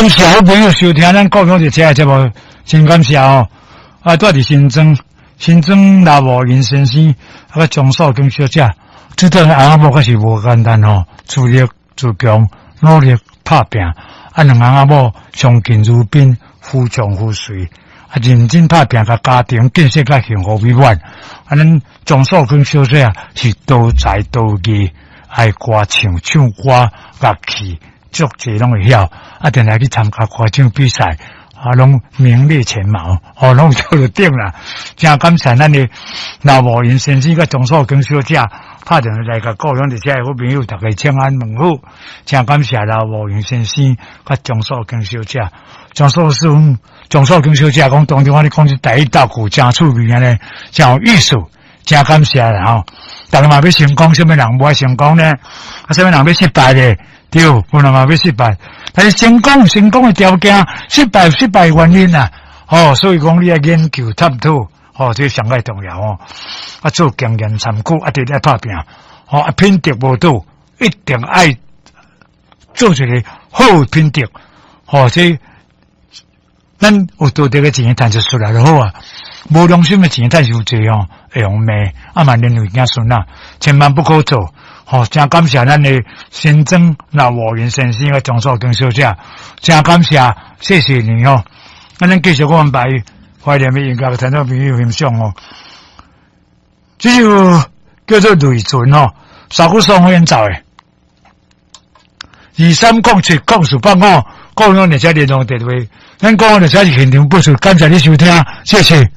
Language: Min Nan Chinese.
感謝好朋友收聽咱故鄉列車的節目，真感謝哦。啊，住佇新莊，新莊劉慕雲先生啊，佮張素娟小姐，這對翁仔某確實無簡單吼，自立自強，努力拍拚。啊，兩翁仔某相敬如賓，夫唱婦隨，啊，認真拍拚，共家庭建設較幸福美滿。啊，咱張素娟小姐是多才多藝，愛歌唱、唱歌、樂器，足濟攏會曉。啊，定定去參加歌唱比賽，啊，攏名列前茅，哦，攏做到頂啦。真感謝咱的劉慕雲先生佮張素娟小姐，拍電話來共故鄉佇遮的好朋友，逐家請安問好。真感謝劉慕雲先生佮張素娟小姐。張素師張素娟小姐講，當中我咧講這台語鬥句真趣味按呢，真有意思，真感謝啦吼。逐家嘛欲成功，啥物人無愛成功呢？啊，啥物人欲失敗咧？對，有人嘛欲失敗，但是成功有成功的條件，失敗有失敗的原因啊。哦，所以講你愛研究探討，哦，這上蓋重要哦。啊，做經驗參考，啊，佇咧拍拚，哦，啊，品德無倒，一定愛做一個好的品德，哦，這咱有道德的錢趁就出來就好啊。無良心的錢趁傷濟哦，會予罵，啊嘛連累子孫啊，千萬不可做。吼，真感謝咱的新莊劉慕雲先生佮張素娟小姐，真感謝，謝謝你哦。啊，咱繼續講安排懷念的音樂，聽眾朋友欣賞哦。這首叫做《淚唇》吼，沙古松演奏的。23070485，故鄉列車聯絡電話。咱故鄉列車是現場播出，感謝你收聽，謝謝。